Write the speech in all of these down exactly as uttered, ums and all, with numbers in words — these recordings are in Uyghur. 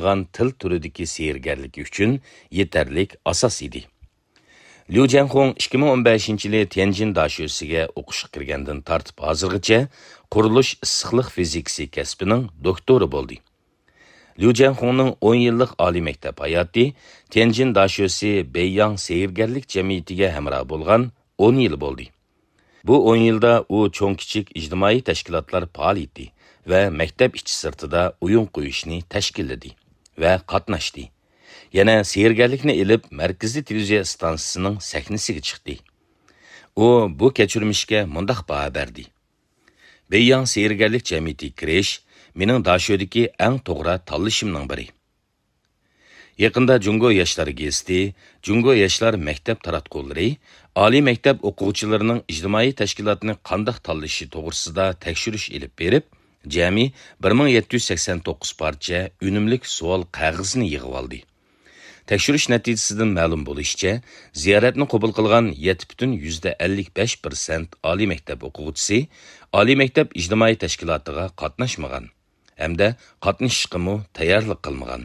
قىلغان تىل تۈرىدىكى سېھىرگەرلىكى ئۈچۈن يېتەرلىك ئاساس ئىدى. ليۇ جيەنخۇڭ ئىككى مىڭ ئون بەشىنچى يىلى تيەنجىن داشۆسىگە ئوقۇشقا كىرگەندىن تارتىپ ھازىرغىچە قۇرۇلۇش ئىسسىقلىق فىزىكىسى كەسپىنىڭ دوكتورى بولدى. ليۇ جيەنخۇڭنىڭ ئون يىللىق ئالىي مەكتەپ ھاياتى تيەنجىن داشۆسى بېيياڭ سېھىرگەرلىك جەمئىيىتىگە ھەمراھ بولغان ئون يىل بولدى. بۇ ئون يىلدا ئۇ چوڭ-كىچىك ئىجتىمائىي تەشكىلاتلار پائالىيىتى ۋە مەكتەپ ئىچى-سىرتىدا ئويۇن قويۇشنى تەشكىللىدى ۋە قاتناشتى. يەنە سېھىرگەرلىكنى ئېلىپ، مەركىزىي تېلېۋىزىيە ئىستانسىسىنىڭ سەھنىسىگە چىقتى. ئۇ بۇ كەچۈرمىشكە مۇنداق باھا بەردى: بېيياڭ سېھىرگەرلىك جەمئىيىتىگە كىرىش مېنىڭ داشۆدىكى ئەڭ توغرا تاللىشىمنىڭ بىرى. يېقىندا جۇڭگو ياشلار گېزىتى، جۇڭگو ياشلار مەكتەپ تاراتقۇلىرى ئالىي مەكتەپ ئوقۇغۇچىلىرىنىڭ ئىجتىمائىي تەشكىلاتنى قانداق تاللىشى توغرىسىدا تەكشۈرۈش ئېلىپ بېرىپ، جەمئىي بىر مىڭ يەتتە يۈز سەكسەن توققۇز پارچە ئۈنۈملۈك سوئال قەغىزىنى يىغىۋالدى. تەكشۈرۈش نەتىجىسىدىن مەلۇم بولۇشىچە، زىيارەتنى قوبۇل قىلغان يەتتە پۈتۈن يۈزدە ئەللىك بەش پىرسەنت ئالىي مەكتەپ ئوقۇغۇچىسى ئالىي مەكتەپ ئىجتىمائىي تەشكىلاتىغا قاتناشمىغان ھەمدە قاتنىشىشقىمۇ تەييارلىق قىلمىغان.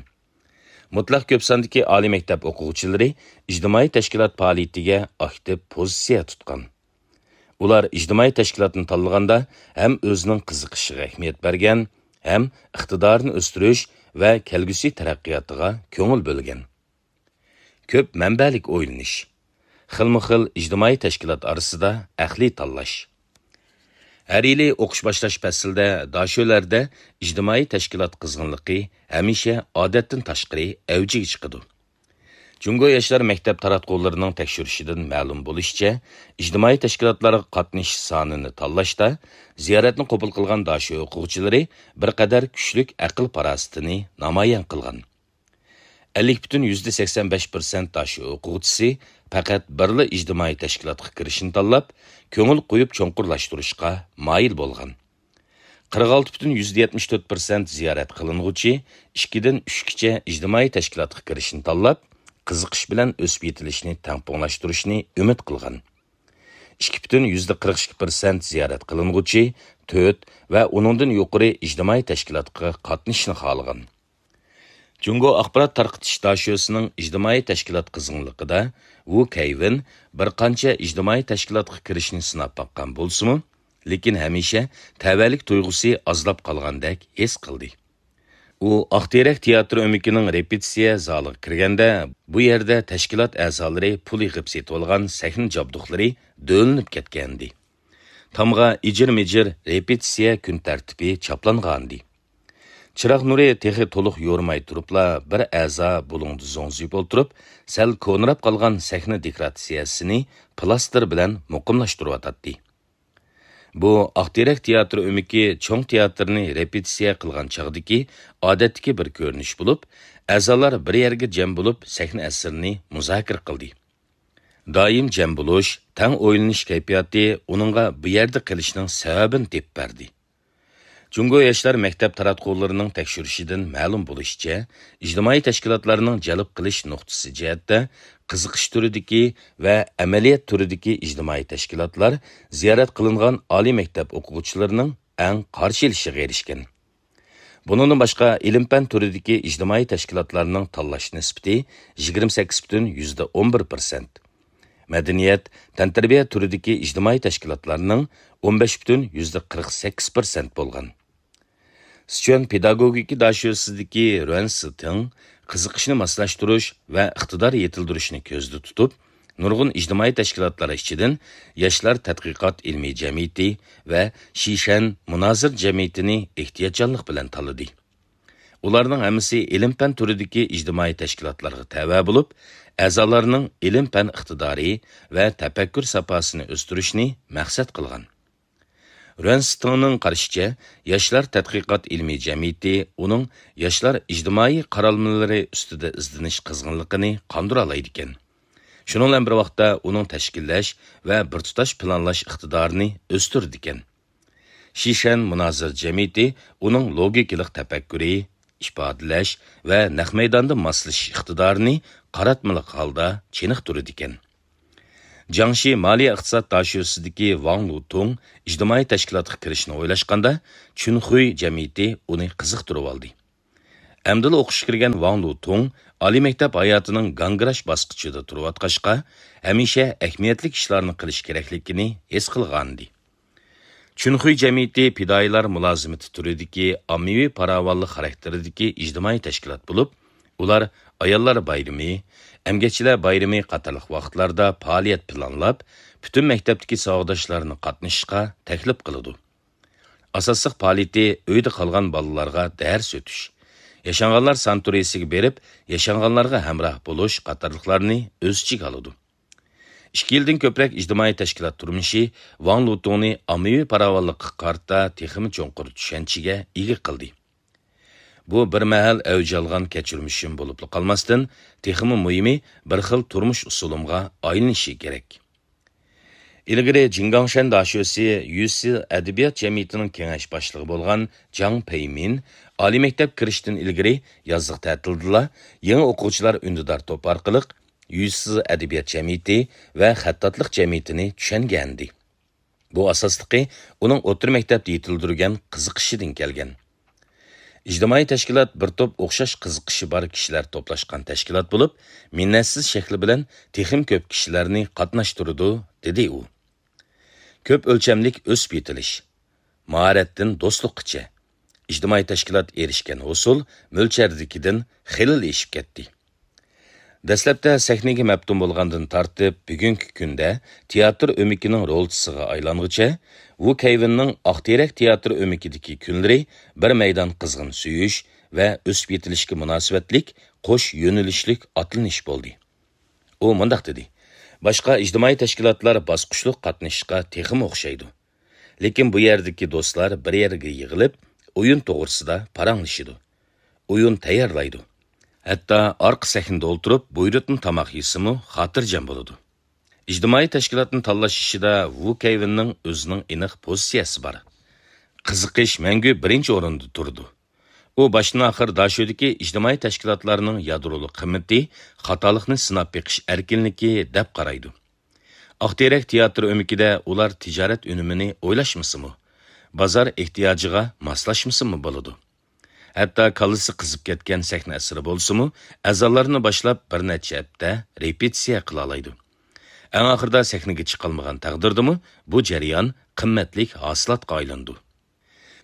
مۇتلەق كۆپ ساندىكى ئالىي مەكتەپ ئوقۇغۇچىلىرى ئىجتىمائىي تەشكىلات پائالىيىتىگە ئاكتىپ پوزىتسىيە تۇتقان. ئۇلار ئىجتىمائىي تەشكىلاتنى تاللىغاندا ھەم ئۆزىنىڭ قىزىقىشىغا ئەھمىيەت بەرگەن، ھەم ئىقتىدارىنى ئۆستۈرۈش ۋە كەلگۈسى تەرەققىياتىغا كۆڭۈل بۆلگەن. كۆپ مەنبەلىك ئويلىنىش. خىلمۇ خىل ئىجتىمائىي تەشكىلات ئارىسىدا ئەقلىي تاللاش. ھەر يىلى ئوقۇش باشلاش پەسلىدە داشۆلەردە ئىجتىمائىي تەشكىلات قىزغىنلىقى ھەمىشە ئادەتتىن تاشقىرى ئەۋجىگە چىقىدۇ. جۇڭگو ياشلار مەكتەپ تاراتقۇلىرىنىڭ تەكشۈرۈشىدىن مەلۇم بولۇشىچە، ئىجتىمائىي تەشكىلاتلارغا قاتنىشىش سانىنى تاللاشتا زىيارەتنى قوبۇل قىلغان داشۆ ئوقۇغۇچىلىرى بىر قەدەر كۈچلۈك ئەقىل-پاراسىتىنى نامايان قىلغان. ئەللىك پۈتۈن يۈزدە سەكسەن بەش پىرسەنت داشۆ ئوقۇغۇچىسى پەقەت بىرلا ئىجتىمائىي تەشكىلاتقا كىرىشنى تاللاپ، كۆڭۈل قويۇپ چوڭقۇرلاشتۇرۇشقا مايىل بولغان. قىرىق ئالتە پۈتۈن يۈزدە يەتمىش تۆت پىرسەنت زىيارەت قىلىنغۇچى ئىككىدىن ئۈچكىچە ئىجتىمائىي تەشكىلاتقا كىرىشنى تاللاپ، قىزىقىش بىلەن ئۆسۈپ يېتىلىشنى تەڭپۇڭلاشتۇرۇشنى ئۈمىد قىلغان. ئىككى پۈتۈن يۈزدە قىرىق ئىككى پىرسەنت زىيارەت قىلىنغۇچى تۆت ۋە ئۇنىڭدىن يۇقىرى ئىجتىمائىي تەشكىلاتقا قاتنىشىشنى خالىغان. جۇڭگو ئاخبارات تارقىتىش داشۆسىنىڭ ئىجتىمائىي تەشكىلات قىزغىنلىقىدا ۋۇ كەيۋېن بىر قانچە ئىجتىمائىي تەشكىلاتقا كىرىشنى سىناپ باققان بولسىمۇ، لېكىن ھەمىشە تەۋەلىك تۇيغۇسى ئازلاپ قالغاندەك ھېس قىلدى. ئۇ ئاق تېرەك تىياتىر ئۆمىكىنىڭ رېپېتىتسىيە زالىغا كىرگەندە، بۇ يەردە تەشكىلات ئەزالىرى پۇل يىغىپ سېتىۋالغان سەھنە جابدۇقلىرى دۆلىنىپ كەتكەنىدى. تامغا ئىجىر-مىجىر رېپېتىتسىيە كۈن تەرتىپى چاپلانغانىدى. چىراغ نۇرى تېخى تولۇق يورۇماي تۇرۇپلا، بىر ئەزا بۇلۇڭدا زوڭزىيىپ ئولتۇرۇپ، سەل كونىراپ قالغان سەھنە دېكوراتسىيەسىنى پلاستېر بىلەن مۇقىملاشتۇرۇۋاتاتتى. بۇ ئاق تېرەك تىياتىر ئۆمىكى چوڭ تىياتىرنى رېپېتىتسىيە قىلغان چاغدىكى ئادەتتىكى بىر كۆرۈنۈش بولۇپ، ئەزالار بىر يەرگە جەم بولۇپ، سەھنە ئەسىرىنى مۇزاكىرە قىلدى. دائىم جەم بولۇش، تەڭ ئويلىنىش كەيپىياتى ئۇنىڭغا بۇ يەردە قېلىشنىڭ سەۋەبىنى تېپىپ بەردى. جۇڭگو ياشلار مەكتەپ تاراتقۇلىرىنىڭ تەكشۈرۈشىدىن مەلۇم بولۇشىچە، ئىجتىمائىي تەشكىلاتلارنىڭ جەلپ قىلىش نۇقتىسى جەھەتتە قىزىقىش تۈرىدىكى ۋە ئەمەلىيەت تۈرىدىكى ئىجتىمائىي تەشكىلاتلار زىيارەت قىلىنغان ئالىي مەكتەپ ئوقۇغۇچىلىرىنىڭ ئەڭ قارشى ئېلىشىغا ئېرىشكەن. بۇنىڭدىن باشقا، ئىلىم-پەن تۈرىدىكى ئىجتىمائىي تەشكىلاتلارنىڭ تاللاش نىسبىتى يىگىرمە سەككىز پۈتۈن يۈزدە ئون بىر پىرسەنت، مەدەنىيەت، تەنتەربىيە تۈرىدىكى ئىجتىمائىي تەشكىلاتلارنىڭ ئون بەش پۈتۈن يۈزدە قىرىق سەككىز پىرسەنت بولغان. سىچۈەن پېداگوگىكا داشۆسىدىكى رۇەن سىتىڭ قىزىقىشنى ماسلاشتۇرۇش ۋە ئىقتىدار يېتىلدۈرۈشنى كۆزدە تۇتۇپ، نۇرغۇن ئىجتىمائىي تەشكىلاتلار ئىچىدىن ياشلار تەتقىقات ئىلمىي جەمئىيىتى ۋە شىشەن مۇنازىرە جەمئىيىتىنى ئېھتىياتچانلىق بىلەن تاللىدى. ئۇلارنىڭ ھەممىسى ئىلىم-پەن تۈرىدىكى ئىجتىمائىي تەشكىلاتلارغا تەۋە بولۇپ، ئەزالارنىڭ ئىلىم-پەن ئىقتىدارى ۋە تەپەككۇر ساپاسىنى ئۆستۈرۈشنى مەقسەت قىلغان. رۈەن سىتىڭنىڭ قارىشىچە، ياشلار تەتقىقات ئىلمىي جەمئىيىتى ئۇنىڭ ياشلار ئىجتىمائىي قارالمىلىرى ئۈستىدە ئىزدىنىش قىزغىنلىقىنى قاندۇرالايدىكەن. شۇنىڭ بىلەن بىر ۋاقىتتا ئۇنىڭ تەشكىللەش ۋە بىر تۇتاش پىلانلاش ئىقتىدارىنى ئۆستۈرىدىكەن. شىشەن مۇنازىرە جەمئىيىتى ئۇنىڭ لوگىكىلىق تەپەككۇرى، ئىپادىلەش ۋە نەق مەيداندا ماسلىشىش ئىقتىدارىنى قاراتمىلىق ھالدا چېنىقتۇرىدىكەن. جياڭشى مالىيە ئىقتىساد داشۆسىدىكى ۋاڭ لۇتۇڭ ئىجتىمائىي تەشكىلاتقا كىرىشنى ئويلاشقاندا، چۈنخۇي جەمئىيىتى ئۇنى قىزىقتۇرۇۋالدى. ئەمدىلا ئوقۇشقا كىرگەن ۋاڭ لۇتۇڭ ئالىي مەكتەپ ھاياتىنىڭ گاڭگىراش باسقۇچىدا تۇرۇۋاتقاچقا، ھەمىشە ئەھمىيەتلىك ئىشلارنى قىلىش كېرەكلىكىنى ھېس قىلغانىدى. چۈنخۇي جەمئىيىتى پىدائىيلار مۇلازىمىتى تۈرىدىكى ئاممىۋى پاراۋانلىق خاراكتېرىدىكى ئىجتىمائىي تەشكىلات بولۇپ، ئۇلار ئاياللار بايرىمى، ئەمگەكچىلەر بايرىمى قاتارلىق ۋاقىتلاردا پائالىيەت پىلانلاپ، پۈتۈن مەكتەپتىكى ساۋاقداشلارنى قاتنىشىشقا تەكلىپ قىلىدۇ. ئاساسلىق پائالىيىتى ئۆيدە قالغان بالىلارغا دەرس ئۆتۈش، ياشانغانلار ساناتورىيىسىگە بېرىپ، ياشانغانلارغا ھەمراھ بولۇش قاتارلىقلارنى ئۆز ئىچىگە ئالىدۇ. ئىككى يىلدىن كۆپرەك ئىجتىمائىي تەشكىلات تۇرمۇشى ۋاڭ لۇتۇڭنى ئاممىۋى پاراۋانلىققا قارىتا تېخىمۇ چوڭقۇر چۈشەنچىگە ئىگە قىلدى. بۇ بىر مەھەل ئەۋج ئالغان كەچۈرمىشىم بولۇپلا قالماستىن، تېخىمۇ مۇھىمى، بىر خىل تۇرمۇش ئۇسۇلۇمغا ئايلىنىشى كېرەك. ئىلگىرى جىڭگاڭشەن داشۆسى يۈسى ئەدەبىيات جەمئىيىتىنىڭ كېڭەش باشلىقى بولغان جاڭ پېيمىن ئالىي مەكتەپ كىرىشتىن ئىلگىرى يازلىق تەتىلدىلا يېڭى ئوقۇغۇچىلار ئۈندىدار توپى ئارقىلىق يۈسى ئەدەبىيات جەمئىيىتى ۋە خەتتاتلىق جەمئىيىتىنى چۈشەنگەنىدى. بۇ ئاساسلىقى ئۇنىڭ ئوتتۇرا مەكتەپتە يېتىلدۈرگەن قىزىقىشىدىن كەلگەن. ئىجتىمائىي تەشكىلات بىر توپ ئوخشاش قىزىقىشى بار كىشىلەر توپلاشقان تەشكىلات بولۇپ، مىننەتسىز شەكلى بىلەن تېخىمۇ كۆپ كىشىلەرنى قاتناشتۇرىدۇ، دېدى ئۇ. كۆپ ئۆلچەملىك ئۆسۈپ يېتىلىش، ماھارەتتىن دوستلۇققىچە، ئىجتىمائىي تەشكىلات ئېرىشكەن ھوسۇل مۆلچەردىكىدىن خېلىلا ئېشىپ كەتتى. دەسلەپتە سەھنىگە مەپتۇن بولغاندىن تارتىپ، بۈگۈنكى كۈندە تىياتىر ئۆمىكىنىڭ رولچىسىغا ئايلانغۇچە، ۋۇ كەيۋىننىڭ ئاق تېرەك تىياتىر ئۆمىكىدىكى كۈنلىرى بىر مەيدان قىزغىن سۆيۈش ۋە ئۆسۈپ يېتىلىشكە مۇناسىۋەتلىك قوش يۆنىلىشلىك ئاتلىنىش بولدى. ئۇ مۇنداق دېدى: «باشقا ئىجتىمائىي تەشكىلاتلار باسقۇچلۇق قاتنىشىشقا تېخىمۇ ئوخشايدۇ. لېكىن بۇ يەردىكى دوستلار بىر يەرگە يىغىلىپ، ئويۇن توغرىسىدا پاراڭلىشىدۇ. ئويۇن تەييارلايدۇ. ھەتتا ئارقا سەھنىدە ئولتۇرۇپ بۇيرۇتما تاماق يېسىمۇ خاتىرجەم بولىدۇ.» ئىجتىمائىي تەشكىلاتنى تاللاش ئىشىدا ۋۇ كەيۋىننىڭ ئۆزىنىڭ ئېنىق پوزىتسىيەسى بار. قىزىقىش مەڭگۈ بىرىنچى ئورۇندا تۇرىدۇ. ئۇ باشتىن ئاخىر داشۆدىكى ئىجتىمائىي تەشكىلاتلارنىڭ يادرولۇق قىممىتى خاتالىقنى سىناپ بېقىش ئەركىنلىكى دەپ قارايدۇ. ئاق تېرەك تىياتىر ئۆمىكىدە ئۇلار تىجارەت ئۈنۈمىنى ئويلاشمىسىمۇ، بازار ئېھتىياجىغا ماسلاشمىسىمۇ بولىدۇ. ھەتتا كاللىسى قىزىپ كەتكەن سەھنە ئەسىرى بولسىمۇ، ئەزالارنى باشلاپ بىر نەچچە ھەپتە رېپېتىتسىيە قىلالايدۇ. ئەڭ ئاخىرىدا سەھنىگە چىقالمىغان تەقدىردىمۇ، بۇ جەريان قىممەتلىك ھاسىلاتقا ئايلىنىدۇ.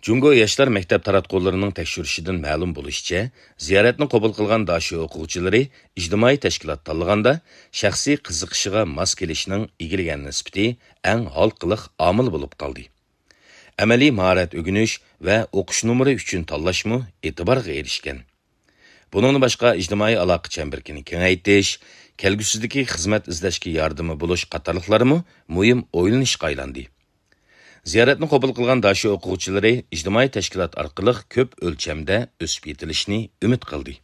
جۇڭگو ياشلار مەكتەپ تاراتقۇلىرىنىڭ تەكشۈرۈشىدىن مەلۇم بولۇشىچە، زىيارەتنى قوبۇل قىلغان داشۆ ئوقۇغۇچىلىرى ئىجتىمائىي تەشكىلات تاللىغاندا، شەخسىي قىزىقىشىغا ماس كېلىشنىڭ ئىگىلىگەن نىسبىتى ئەڭ ھالقىلىق ئامىل بولۇپ قالدى. ئەمەلىي ماھارەت ئۆگىنىش ۋە ئوقۇش نومۇرى ئۈچۈن تاللاشمۇ ئېتىبارغا ئېرىشكەن. بۇنىڭدىن باشقا، ئىجتىمائىي ئالاقە چەمبىرىكىنى كېڭەيتىش، كەلگۈسىدىكى خىزمەت ئىزدەشكە ياردىمى بولۇش قاتارلىقلارمۇ مۇھىم ئويلىنىشقا ئايلاندى. زىيارەتنى قوبۇل قىلغان داشۆ ئوقۇغۇچىلىرى ئىجتىمائىي تەشكىلات ئارقىلىق كۆپ ئۆلچەمدە ئۆسۈپ يېتىلىشنى ئۈمىد قىلدى.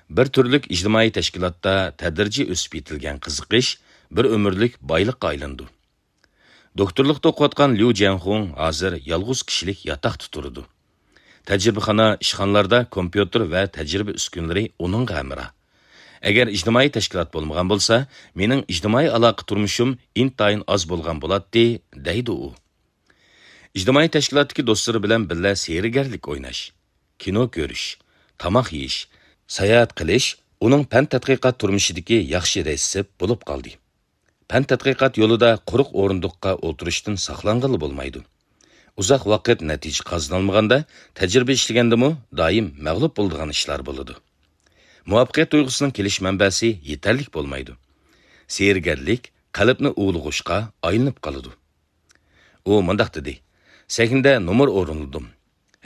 بىر تۈرلۈك ئىجتىمائىي تەشكىلاتتا تەدرىجىي ئۆسۈپ يېتىلگەن قىزىقىش بىر ئۆمۈرلۈك بايلىققا ئايلىنىدۇ. دوكتورلۇقتا ئوقۇۋاتقان ليۇ جيەنخۇڭ ھازىر يالغۇز كىشىلىك ياتاقتا تۇرىدۇ. تەجرىبىخانا، ئىشخانىلاردا كومپيۇتېر ۋە تەجرىبە ئۈسكۈنىلىرى ئۇنىڭغا ھەمراھ. «ئەگەر ئىجتىمائىي تەشكىلات بولمىغان بولسا، مېنىڭ ئىجتىمائىي ئالاقە تۇرمۇشۇم ئىنتايىن ئاز بولغان بولاتتى»، دەيدۇ ئۇ. ئىجتىمائىي تەشكىلاتتىكى دوستلىرى بىلەن بىللە سېھىرگەرلىك ئويناش، كىنو كۆرۈش، تاماق يېيىش، ساياھەت قىلىش ئۇنىڭ پەن تەتقىقات تۇرمۇشىدىكى ياخشى رېتسېپ بولۇپ قالدى. پەن تەتقىقات يولىدا قۇرۇق ئورۇندۇققا ئولتۇرۇشتىن ساقلانغىلى بولمايدۇ. ئۇزاق ۋاقىت نەتىجە قازىنالمىغاندا، تەجرىبە ئىشلىگەندىمۇ دائىم مەغلۇپ بولىدىغان ئىشلار بولىدۇ. مۇۋەپپەقىيەت تۇيغۇسىنىڭ كېلىش مەنبەسى يېتەرلىك بولمايدۇ. سېھىرگەرلىك قەلبنى ئۇۋىلىغۇچقا ئايلىنىپ قالىدۇ. ئۇ مۇنداق دېدى: «سەھنىدە نومۇر ئورۇنلىدىم.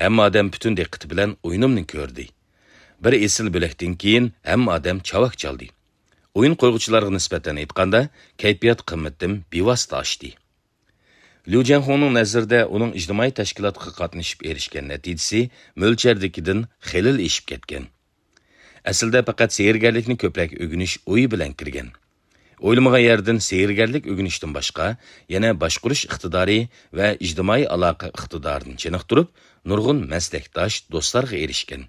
ھەممە ئادەم پۈتۈن دىققىتى بىلەن ئويۇنۇمنى كۆردى. بىر ئېسىل بۆلەكتىن كېيىن ھەممە ئادەم چاۋاك چالدى. ئويۇن قويغۇچىلارغا نىسبەتەن ئېيتقاندا، كەيپىيات قىممىتىم بىۋاسىتە ئاشتى.» ليۇ جيەنخۇڭنىڭ نەزىرىدە، ئۇنىڭ ئىجتىمائىي تەشكىلاتقا قاتنىشىپ ئېرىشكەن نەتىجىسى مۆلچەردىكىدىن خېلىلا ئېشىپ كەتكەن. ئەسلىدە پەقەت سېھىرگەرلىكنى كۆپرەك ئۆگىنىش ئويى بىلەن كىرگەن. ئويلىمىغان يەردىن سېھىرگەرلىك ئۆگىنىشتىن باشقا، يەنە باشقۇرۇش ئىقتىدارى ۋە ئىجتىمائىي ئالاقە ئىقتىدارىنى چېنىقتۇرۇپ، نۇرغۇن مەسلەكداش دوستلارغا ئېرىشكەن.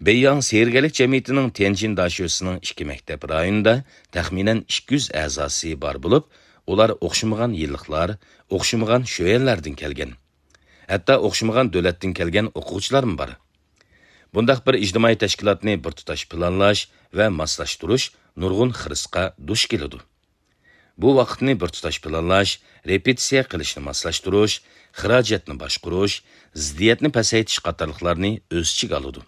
بېيياڭ سېھىرگەرلىك جەمئىيىتىنىڭ تيەنجىن داشۆسىنىڭ ئىككى مەكتەپ رايونىدا تەخمىنەن ئىككى يۈز ئەزاسى بار بولۇپ، ئۇلار ئوخشىمىغان يىللىقلار، ئوخشىمىغان شۆيەنلەردىن كەلگەن. ھەتتا ئوخشىمىغان دۆلەتتىن كەلگەن ئوقۇغۇچىلارمۇ بار. بۇنداق بىر ئىجتىمائىي تەشكىلاتنى بىر تۇتاش پىلانلاش ۋە ماسلاشتۇرۇش نۇرغۇن خىرىسقا دۇچ كېلىدۇ. بۇ ۋاقىتنى بىر تۇتاش پىلانلاش، رېپېتىتسىيە قىلىشنى ماسلاشتۇرۇش، خىراجەتنى باشقۇرۇش، زىددىيەتنى پەسەيتىش قاتارلىقلارنى ئۆز ئىچىگە ئالىدۇ.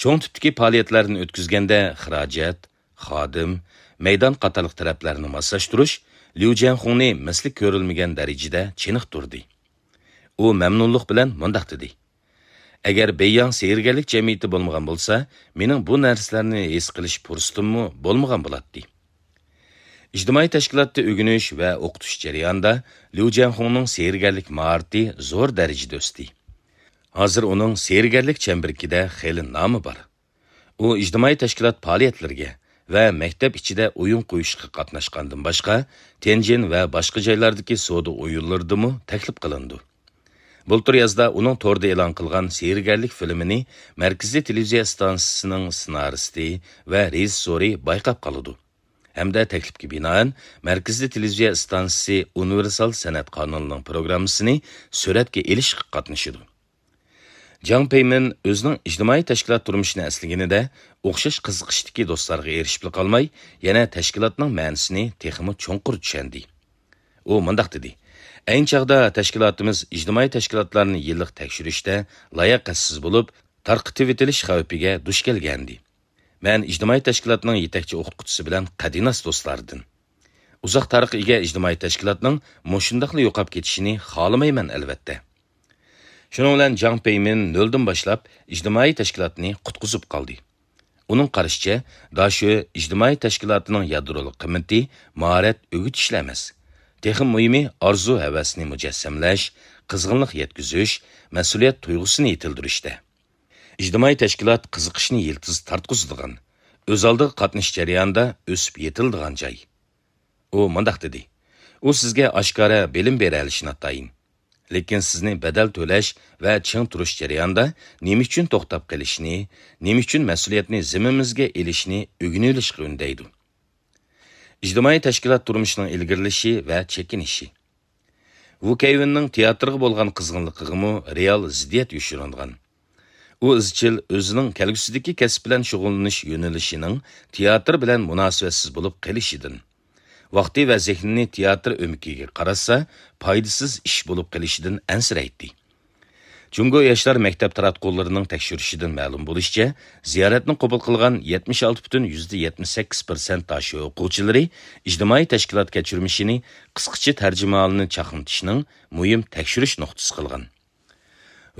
چوڭ تىپتىكى پائالىيەتلەرنى ئۆتكۈزگەندە خىراجەت، خادىم، مەيدان قاتارلىق تەرەپلەرنى ماسلاشتۇرۇش ليۇ جيەنخۇڭنى مىسلى كۆرۈلمىگەن دەرىجىدە چېنىقتۇردى. ئۇ مەمنۇنلۇق بىلەن مۇنداق دېدى: «ئەگەر بېيياڭ سېھىرگەرلىك جەمئىيىتى بولمىغان بولسا، مېنىڭ بۇ نەرسىلەرنى ھېس قىلىش پۇرسىتىممۇ بولمىغان بولاتتى.» ئىجتىمائىي تەشكىلاتتا ئۆگىنىش ۋە ئوقۇتۇش جەريانىدا ليۇ جيەنخۇڭنىڭ سېھىرگەرلىك ماھارىتى زور دەرىجىدە ئۆستى. ھازىر ئۇنىڭ سېھىرگەرلىك چەمبىرىكىدە خېلى نامى بار. ئۇ ئىجتىمائىي تەشكىلات پائالىيەتلىرىگە ۋە مەكتەپ ئىچىدە ئويۇن قويۇشقا قاتناشقاندىن باشقا، تيەنجىن ۋە باشقا جايلاردىكى سودا ئويۇنلىرىدىمۇ تەكلىپ قىلىنىدۇ. بۇلتۇر يازدا ئۇنىڭ توردا ئېلان قىلغان سېھىرگەرلىك فىلىمىنى مەركىزىي تېلېۋىزىيە ئىستانسىسىنىڭ سېنارىستى ۋە رېژىسسورى بايقاپ قالىدۇ ھەمدە تەكلىپكە بىنائەن مەركىزىي تېلېۋىزىيە ئىستانسىسى ئۇنىۋېرسال سەنئەت قانىلىنىڭ پروگراممىسىنى سۈرەتكە ئېلىشقا قاتنىشىدۇ. جاڭ پېيمىن ئۆزىنىڭ ئىجتىمائىي تەشكىلات تۇرمۇشىنى ئەسلىگىنىدە، ئوخشاش قىزىقىشتىكى دوستلارغا ئېرىشىپلا قالماي، يەنە تەشكىلاتنىڭ مەنىسىنى تېخىمۇ چوڭقۇر چۈشەندى. ئۇ مۇنداق دېدى: «ئەينى چاغدا تەشكىلاتىمىز ئىجتىمائىي تەشكىلاتلارنى يىللىق تەكشۈرۈشتە لاياقەتسىز بولۇپ، تارقىتىۋېتىلىش خەۋپىگە دۇچ كەلگەنىدى. مەن ئىجتىمائىي تەشكىلاتنىڭ يېتەكچى ئوقۇتقۇچىسى بىلەن قەدىناس دوستلاردىن. ئۇزاق تارىخقا ئىگە ئىجتىمائىي تەشكىلاتنىڭ مۇشۇنداقلا يوقاپ كېتىشىنى خالىمايمەن، ئەلۋەتتە.» شۇنىڭ بىلەن جاڭ پېيمىن نۆلدىن باشلاپ ئىجتىمائىي تەشكىلاتنى قۇتقۇزۇپ قالدى. ئۇنىڭ قارىشىچە، داشۆ ئىجتىمائىي تەشكىلاتىنىڭ يادرولۇق قىممىتى ماھارەت ئۆگىتىشلا ئەمەس، تېخىمۇ مۇھىمى ئارزۇ-ھەۋەسنى مۇجەسسەملەش، قىزغىنلىق يەتكۈزۈش، مەسئۇلىيەت تۇيغۇسىنى يېتىلدۈرۈشتە. ئىجتىمائىي تەشكىلات قىزىقىشنى يىلتىز تارتقۇزىدىغان، ئۆز ئالدىغا قاتنىشىش جەريانىدا ئۆسۈپ يېتىلىدىغان جاي. ئۇ مۇنداق دېدى: «ئۇ سىزگە ئاشكارا بىلىم بېرەلىشى ناتايىن. لېكىن سىزنى بەدەل تۆلەش ۋە چىڭ تۇرۇش جەريانىدا نېمە ئۈچۈن توختاپ قېلىشنى، نېمە ئۈچۈن مەسئۇلىيەتنى زىممىمىزگە ئېلىشنى ئۆگىنىۋېلىشقا ئۈندەيدۇ.» ئىجتىمائىي تەشكىلات تۇرمۇشىنىڭ ئىلگىرىلىشى ۋە چېكىنىشى. ۋۇ كەيۋىننىڭ تىياتىرغا بولغان قىزغىنلىقىغىمۇ رېئال زىددىيەت يوشۇرۇنغان. ئۇ ئىزچىل ئۆزىنىڭ كەلگۈسىدىكى كەسىپ بىلەن شۇغۇللىنىش يۆنىلىشىنىڭ تىياتىر بىلەن مۇناسىۋەتسىز بولۇپ قېلىشىدىن، ۋاقتى ۋە زېھنىنى تىياتىر ئۆمىكىگە قاراتسا، پايدىسىز ئىش بولۇپ قېلىشىدىن ئەنسىرەيتتى. جۇڭگو ياشلار مەكتەپ تاراتقۇلىرىنىڭ تەكشۈرۈشىدىن مەلۇم بولۇشىچە، زىيارەتنى قوبۇل قىلغان يەتمىش ئالتە پۈتۈن يۈزدە يەتمىش سەككىز پىرسەنت داشۆ ئوقۇغۇچىلىرى ئىجتىمائىي تەشكىلات كەچۈرمىشىنى قىسقىچە تەرجىمىھالىنى چاقنىتىشنىڭ مۇھىم تەكشۈرۈش نۇقتىسى قىلغان.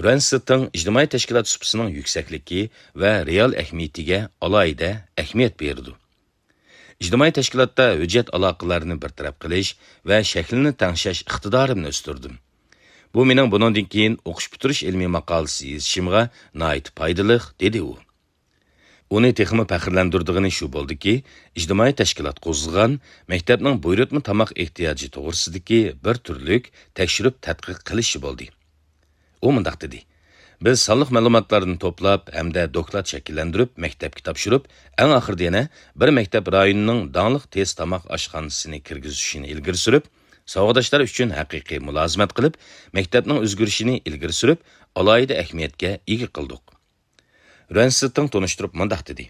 رۇەن سىتىڭ ئىجتىمائىي تەشكىلات سۇپىسىنىڭ يۈكسەكلىكى ۋە رېئال ئەھمىيىتىگە ئالاھىدە ئەھمىيەت بېرىدۇ. ئىجتىمائىي تەشكىلاتتا ھۆججەت ئالاقىلەرنى بىر تەرەپ قىلىش ۋە شەكلىنى تەڭشەش ئىقتىدارىمنى ئۆستۈردۈم. بۇ مېنىڭ بۇنىڭدىن كېيىن ئوقۇش پۈتتۈرۈش ئىلمىي ماقالىسى يېزىشىمغا ناھايىتى پايدىلىق، دېدى ئۇ. ئۇنى تېخىمۇ پەخىرلەندۈرىدىغىنى شۇ بولدىكى، ئىجتىمائىي تەشكىلات قوزغىغان مەكتەپنىڭ بۇيرۇتما تاماق ئېھتىياجى توغرىسىدىكى بىر تۈرلۈك تەكشۈرۈپ تەتقىق قىلىشى بولدى. ئۇ مۇنداق دېدى: «بىز سانلىق مەلۇماتلارنى توپلاپ ھەمدە دوكلات شەكىللەندۈرۈپ مەكتەپكە تاپشۇرۇپ، ئەڭ ئاخىرىدا يەنە بىر مەكتەپ رايونىنىڭ داڭلىق تېز تاماق ئاشخانىسىنى كىرگۈزۈشىنى ئىلگىرى سۈرۈپ، ساۋاقداشلار ئۈچۈن ھەقىقىي مۇلازىمەت قىلىپ، مەكتەپنىڭ ئۆزگىرىشىنى ئىلگىرى سۈرۈپ، ئالاھىدە ئەھمىيەتكە ئىگە قىلدۇق.» رۈەن سىتىڭ تونۇشتۇرۇپ مۇنداق دېدى: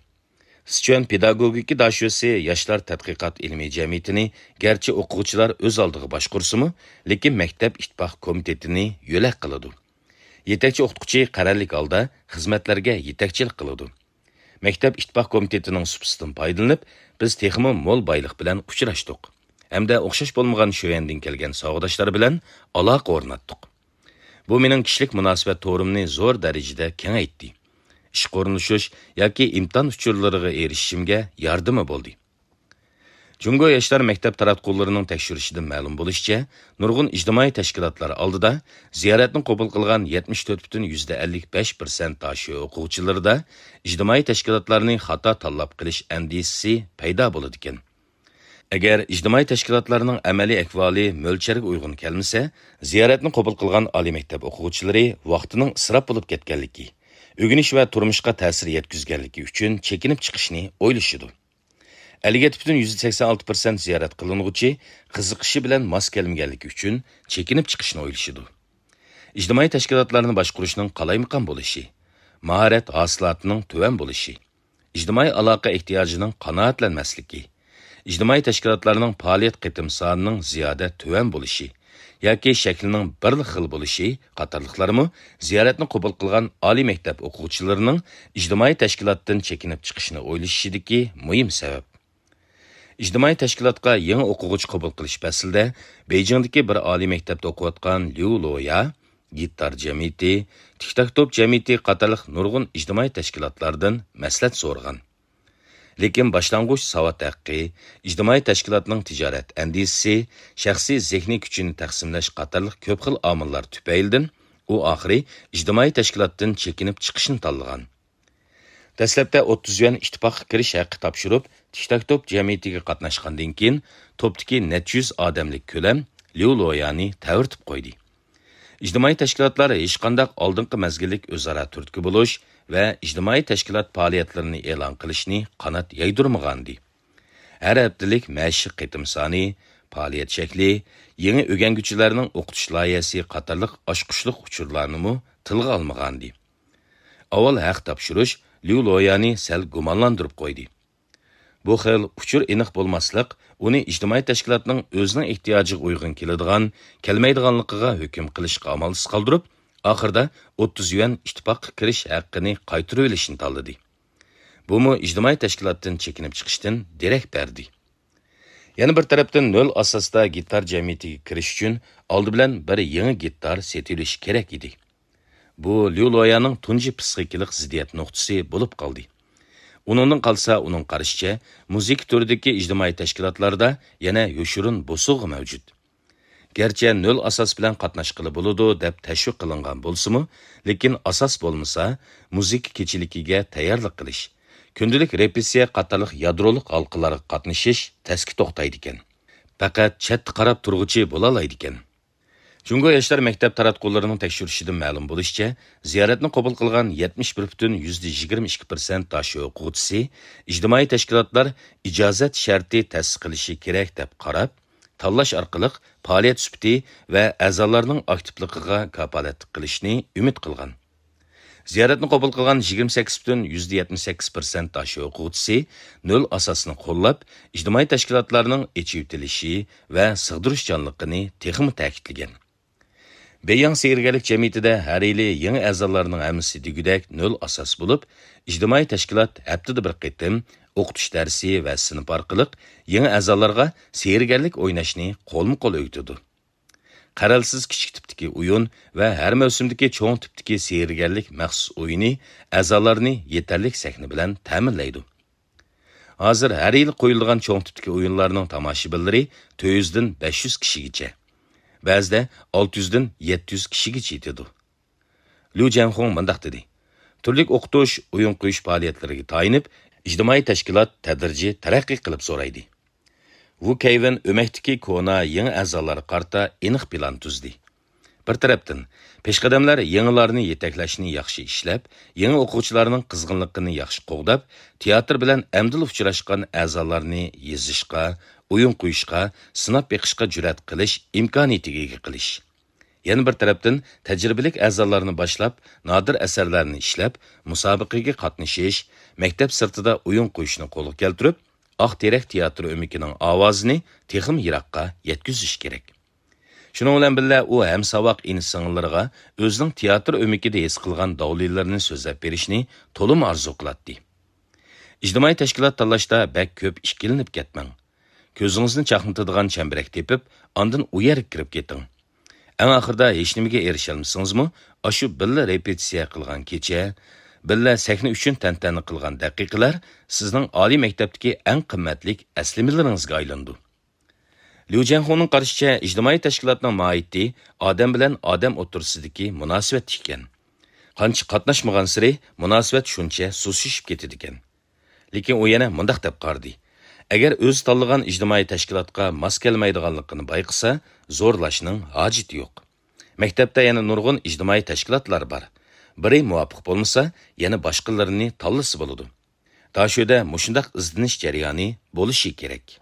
«سىچۈەن پېداگوگىكا داشۆسى ياشلار تەتقىقات ئىلمىي جەمئىيىتىنى گەرچە ئوقۇغۇچىلار ئۆز ئالدىغا باشقۇرسىمۇ، لېكىن مەكتەپ ئىتتىپاق كومىتېتىنى يۆلەك قىلىدۇ. يېتەكچى ئوقۇتقۇچى قەرەللىك ھالدا خىزمەتلەرگە يېتەكچىلىك قىلىدۇ. مەكتەپ ئىتتىپاق كومىتېتىنىڭ سۇپىسىدىن پايدىلىنىپ، بىز تېخىمۇ مول بايلىق بىلەن ئۇچراشتۇق ھەمدە ئوخشاش بولمىغان شۆيەندىن كەلگەن ساۋاقداشلار بىلەن ئالاقە ئورناتتۇق. بۇ مېنىڭ كىشىلىك مۇناسىۋەت تورۇمنى زور دەرىجىدە كېڭەيتتى. ئىشقا ئورۇنلىشىش ياكى ئىمتىھان ئۇچۇرلىرىغا ئېرىشىشىمگە ياردىمى بولدى.» جۇڭگو ياشلار مەكتەپ تاراتقۇلىرىنىڭ تەكشۈرۈشىدىن مەلۇم بولۇشىچە، نۇرغۇن ئىجتىمائىي تەشكىلاتلار ئالدىدا زىيارەتنى قوبۇل قىلغان يەتمىش تۆت پۈتۈن يۈزدە ئەللىك بەش پىرسەنت داشۆ ئوقۇغۇچىلىرىدا ئىجتىمائىي تەشكىلاتلارنى خاتا تاللاپ قىلىش ئەندىشىسى پەيدا بولىدىكەن. ئەگەر ئىجتىمائىي تەشكىلاتلارنىڭ ئەمەلىي ئەھۋالى مۆلچەرگە ئۇيغۇن كەلمىسە، زىيارەتنى قوبۇل قىلغان ئالىي مەكتەپ ئوقۇغۇچىلىرى ۋاقتىنىڭ ئىسراپ بولۇپ كەتكەنلىكى، ئۆگىنىش ۋە تۇرمۇشقا تەسىر يەتكۈزگەنلىكى ئۈچۈن چېكىنىپ چىقىشنى ئويلىشىدۇ. ئەللىك يەتتە پۈتۈن يۈزدە سەكسەن ئالتە پىرسەنت زىيارەت قىلىنغۇچى قىزىقىشى بىلەن ماس كەلمىگەنلىكى ئۈچۈن چېكىنىپ چىقىشنى ئويلىشىدۇ. ئىجتىمائىي تەشكىلاتلارنى باشقۇرۇشنىڭ قالايمىقان بولۇشى، ماھارەت ھاسىلاتىنىڭ تۆۋەن بولۇشى، ئىجتىمائىي ئالاقە ئېھتىياجىنىڭ قانائەتلەنمەسلىكى، ئىجتىمائىي تەشكىلاتلارنىڭ پائالىيەت قېتىم سانىنىڭ زىيادە تۆۋەن بولۇشى ياكى شەكلىنىڭ بىرلا خىل بولۇشى قاتارلىقلارمۇ زىيارەتنى قوبۇل قىلغان ئالىي مەكتەپ ئوقۇغۇچىلىرىنىڭ ئىجتىمائىي تەشكىلاتتىن چېكىنىپ چىقىشنى ئويلىشىشىدىكى مۇھىم سەۋەب. ئىجتىمائىي تەشكىلاتقا يېڭى ئوقۇغۇچى قوبۇل قىلىش پەسلىدە بېيجىڭدىكى بىر ئالىي مەكتەپتە ئوقۇۋاتقان ليۇ لويا، گىتار جەمئىيىتى، تىك تاك توپ جەمئىيىتى قاتارلىق نۇرغۇن ئىجتىمائىي تەشكىلاتلاردىن مەسلىھەت سورىغان. لېكىن باشلانغۇچ ساۋات ھەققى، ئىجتىمائىي تەشكىلاتنىڭ تىجارەت ئەندىزىسى، شەخسىي زېھنىي كۈچىنى تەقسىملەش قاتارلىق كۆپ خىل ئامىللار تۈپەيلىدىن ئۇ ئاخىرى ئىجتىمائىي تەشكىلاتتىن چېكىنىپ چىقىشنى تاللىغان. دەسلەپتە ئوتتۇز يۈەن ئىتتىپاققا كىرىش ھەققى تاپشۇرۇپ، تىك تاك توپ جەمئىيىتىگە قاتناشقاندىن كېيىن، توپتىكى نەچچە يۈز ئادەملىك كۆلەم ليۇ لويانى تەۋرىتىپ قويدى. ئىجتىمائىي تەشكىلاتلار ھېچقانداق ئالدىنقى مەزگىللىك ئۆزئارا تۈرتكە بولۇش ۋە ئىجتىمائىي تەشكىلات پائالىيەتلىرىنى ئېلان قىلىشنى قانات يايدۇرمىغانىدى. ھەر ھەپتىلىك مەشىق قېتىم سانى، پائالىيەت شەكلى، يېڭى ئۆگەنگۈچىلەرنىڭ ئوقۇتۇش لايىھەسى قاتارلىق ئاچقۇچلۇق ئۇچۇرلارنىمۇ تىلغا ئالمىغانىدى. ئاۋۋال ھەق تاپشۇرۇش ليۇ لويانى سەل گۇمانلاندۇرۇپ قويدى. بۇ خىل ئۇچۇر ئېنىق بولماسلىق ئۇنى ئىجتىمائىي تەشكىلاتنىڭ ئۆزىنىڭ ئېھتىياجىغا ئۇيغۇن كېلىدىغان، كەلمەيدىغانلىقىغا ھۆكۈم قىلىشقا ئامالسىز قالدۇرۇپ، ئاخىرىدا ئوتتۇز يۈەن ئىتتىپاققا كىرىش ھەققىنى قايتۇرۇۋېلىشنى تاللىدى. بۇمۇ ئىجتىمائىي تەشكىلاتتىن چېكىنىپ چىقىشتىن دېرەك بەردى. يەنە بىر تەرەپتىن، نۆل ئاساستا گىتار جەمئىيىتىگە كىرىش ئۈچۈن ئالدى بىلەن بىر يېڭى گىتار سېتىۋېلىش كېرەك ئىدى. بۇ ليۇ لويانىڭ تۇنجى پسىخىكىلىق زىددىيەت نۇقتىسى بولۇپ قالدى. ئۇنىڭدىن قالسا، ئۇنىڭ قارىشىچە، مۇزىكا تۈرىدىكى ئىجتىمائىي تەشكىلاتلاردا يەنە يوشۇرۇن بوسۇغا مەۋجۇت. گەرچە نۆل ئاساس بىلەن قاتناشقىلى بولىدۇ دەپ تەشۋىق قىلىنغان بولسىمۇ، لېكىن ئاساس بولمىسا، مۇزىكا كېچىلىكىگە تەييارلىق قىلىش، كۈندىلىك رېپېتىتسىيە قاتارلىق يادرولۇق ھالقىلارغا قاتنىشىش تەسكە توختايدىكەن. پەقەت چەتتە قاراپ تۇرغۇچى بولالايدىكەن. جۇڭگو ياشلار مەكتەپ تاراتقۇلىرىنىڭ تەكشۈرۈشىدىن مەلۇم بولۇشىچە، زىيارەتنى قوبۇل قىلغان يەتمىش بىر پۈتۈن يۈزدە يىگىرمە ئىككى پىرسەنت داشۆ ئوقۇغۇچىسى ئىجتىمائىي تەشكىلاتلار ئىجازەت شەرتى تەسىس قىلىشى كېرەك دەپ قاراپ، تاللاش ئارقىلىق پائالىيەت سۈپىتى ۋە ئەزالارنىڭ ئاكتىپلىقىغا كاپالەتلىك قىلىشنى ئۈمىد قىلغان. زىيارەتنى قوبۇل قىلغان يىگىرمە سەككىز پۈتۈن يۈزدە يەتمىش سەككىز پىرسەنت داشۆ ئوقۇغۇچىسى نۆل ئاساسنى قوللاپ، ئىجتىمائىي تەشكىلاتلارنىڭ ئېچىۋېتىلىشى ۋە سىغدۇرۇشچانلىقىنى تېخىمۇ تەكىتلىگەن. بېيياڭ سېھىرگەرلىك جەمئىيىتىدە ھەر يىلى يېڭى ئەزالارنىڭ ھەممىسى دېگۈدەك نۆل ئاساس بولۇپ، ئىجتىمائىي تەشكىلات ھەپتىدە بىر قېتىم ئوقۇتۇش دەرسى ۋە سىنىپ ئارقىلىق يېڭى ئەزالارغا سېھىرگەرلىك ئويناشنى قولمۇ قول ئۆگىتىدۇ. قەرەلسىز كىچىك تىپتىكى ئويۇن ۋە ھەر مەۋسۇمدىكى چوڭ تىپتىكى سېھىرگەرلىك مەخسۇس ئويۇنى ئەزالارنى يېتەرلىك سەھنە بىلەن تەمىنلەيدۇ. ھازىر ھەر يىلى قويۇلىدىغان چوڭ تىپتىكى ئويۇنلارنىڭ تاماشىبىنلىرى تۆت يۈزدىن بەش يۈز كىشىگىچە. بەزىدە ئالتە يۈزدىن يەتتە يۈز كىشىگىچە يېتىدۇ. ليۇ جيەنخۇڭ مۇنداق دېدى: تۈرلۈك ئوقۇتۇش، ئويۇن قويۇش پائالىيەتلىرىگە تايىنىپ، ئىجتىمائىي تەشكىلات تەدرىجىي تەرەققىي قىلىپ زورايدى. ۋۇ كەيۋېن ئۆمەكتىكى كونا يېڭى ئەزالارغا قارىتا ئېنىق پىلان تۈزدى. بىر تەرەپتىن، پېشقەدەملەر يېڭىلارنى يېتەكلەشنى ياخشى ئىشلەپ، يېڭى ئوقۇغۇچىلارنىڭ قىزغىنلىقىنى ياخشى قوغداپ، تىياتىر بىلەن ئەمدىلا ئۇچراشقان ئەزالارنى يېزىشقا، ئويۇن قويۇشقا، سىناپ بېقىشقا جۈرئەت قىلىش ئىمكانىيىتىگە ئىگە قىلىش. يەنە بىر تەرەپتىن، تەجرىبىلىك ئەزالارنى باشلاپ، نادىر ئەسەرلەرنى ئىشلەپ، مۇسابىقىگە قاتنىشىش، مەكتەپ سىرتىدا ئويۇن قويۇشنى قولغا كەلتۈرۈپ، ئاق تېرەك تىياتىر ئۆمىكىنىڭ ئاۋازىنى تېخىمۇ يىراققا يەتكۈزۈش كېرەك. شۇنىڭ بىلەن بىللە، ئۇ ھەمساۋاق ئىنى-سىڭىللىرىغا ئۆزىنىڭ تىياتىر ئۆمىكىدە ھېس قىلغان داۋلىلىرىنى سۆزلەپ بېرىشنى تولىمۇ ئارزۇ قىلاتتى. ئىجتىمائىي تەشكىلات تاللاشتا بەك كۆپ ئىككىلىنىپ كەتمەڭ. كۆزىڭىزنى چاقنىتىدىغان چەمبىرەك تېپىپ، ئاندىن ئۇ يەرگە كىرىپ كېتىڭ. ئەڭ ئاخىرىدا ھېچنېمىگە ئېرىشەلمىسىڭىزمۇ، ئاشۇ بىللە رېپېتىتسىيە قىلغان كېچە، بىللە سەھنە ئۈچۈن تەنتەنە قىلغان دەقىقىلەر سىزنىڭ ئالىي مەكتەپتىكى ئەڭ قىممەتلىك ئەسلىمىلىرىڭىزگە ئايلىنىدۇ. ليۇ جيەنخۇنىڭ قارىشىچە، ئىجتىمائىي تەشكىلاتنىڭ ماھىيىتى ئادەم بىلەن ئادەم ئوتتۇرىسىدىكى مۇناسىۋەتتە ئىكەن. قانچە قاتناشمىغانسېرى مۇناسىۋەت شۇنچە سۇسلىشىپ كېتىدىكەن. لېكىن ئۇ يەنە مۇنداق دەپ قارىدى: ئەگەر ئۆزى تاللىغان ئىجتىمائىي تەشكىلاتقا ماس كەلمەيدىغانلىقىنى بايقىسا، زورلاشنىڭ ھاجىتى يوق. مەكتەپتە يەنە نۇرغۇن ئىجتىمائىي تەشكىلاتلار بار. بىرى مۇۋاپىق بولمىسا، يەنە باشقىلىرىنى تاللىسا بولىدۇ. داشۆدە مۇشۇنداق ئىزدىنىش جەريانى بولۇشى كېرەك.